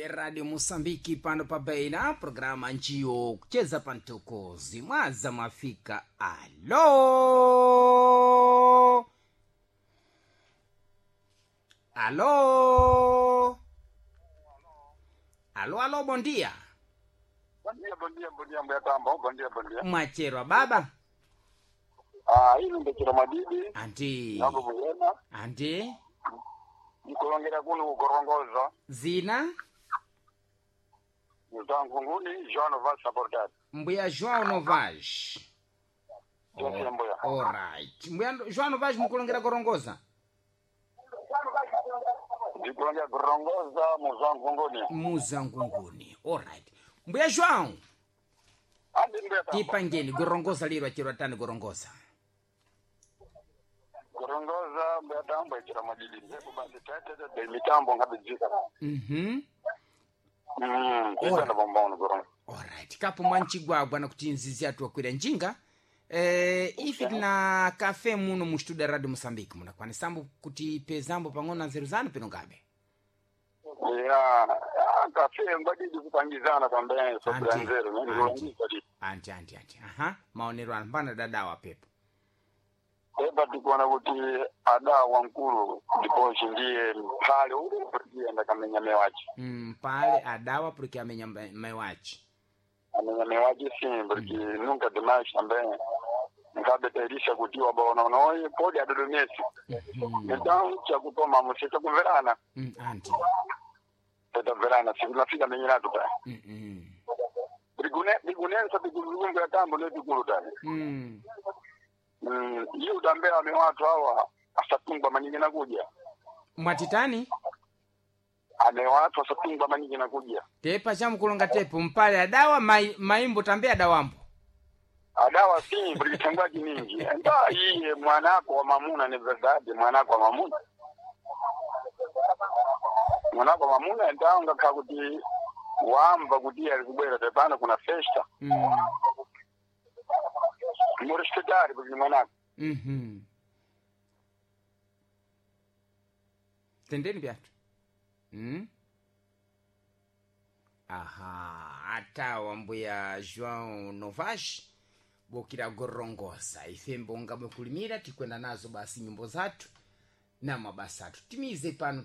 Radio Mosambiki pano pa Beira, programa njiyo kucheza pa mtokozi mwaza mwafika. Alo, alo, alo, alo, bondia. Bondia, bondia, bondia, mbuya tambo, bondia, bondia. Mwacherwa baba. Ah, ili ndechera madidi, Anti nambo muyena, anti nikulongera kuno kugorongoza, zina muzangunguni, João Vaz Sabordat. mbuya João Novas. Yes, mbuya. Alright. Mbuya João Novas mukulongera gorongoza. Ndikulongera kurongoza muzangunguni. Muzangunguni. Alright. Mbuya João, Andi mbuya tambo. tipangeni gorongoza liro achirwa tani gorongoza. Kurongoza mbuya tambo echera madidi. Ndipo basi tete tete mitambo ngabijika. Kuitanda bombono gorongoza. Alright. Kapo mwanchigwagwa nakuti nzizi atu wakwira njinga. Ife tina kafe muno mu studio ya Radio Mosambiki munakwanisambo kuti pezambo pang'ono na nzeru zanu pino ngabe. Ya, ah, kafe mbadidi kupangizana também, sobre Anti, nzeru, anti. nilongisa di. Anti anti anti. Aha, maonero anu mbana dadawa pepo. Eba tikuona kuti ada wankulu ndipochi ndiye mphale uli ndiye ndakamenya mewachi. Pale adawa porque amenya mewachi. Amenya mewachi sim, porque nunca demais também nkabetairisha kuti wabaononoyi podi adodomesi. Então chakutoma musita kumverana, Anti. tetamverana sikunafika menyeratu ta. Mm. Bigunensa bigulungu tambo ne bigulu ta. Iye utambea ame watu hawa asatungwa manyingi na kuja. Mwatitani? Ame watu asatungwa manyingi na kuja. Tepa chamukulonga tepo mpale adawa maimbo tambe adawambo. Adawa si kulichangwaji mingi nda iye mwanako wa mamuna ni verdade mwanako wa mamuna mwanako wa mamuna ndaonga kakuti wamva kuti ali kubwera tepano kuna festa murespetari kuti mwanako. Tendeni byatu. Aha, atawa mbuya João Novas bokira gorongosa ife mbonga bwekulimira tikwenda nazo basi nyimbo zathu na mabasa athu timize pano.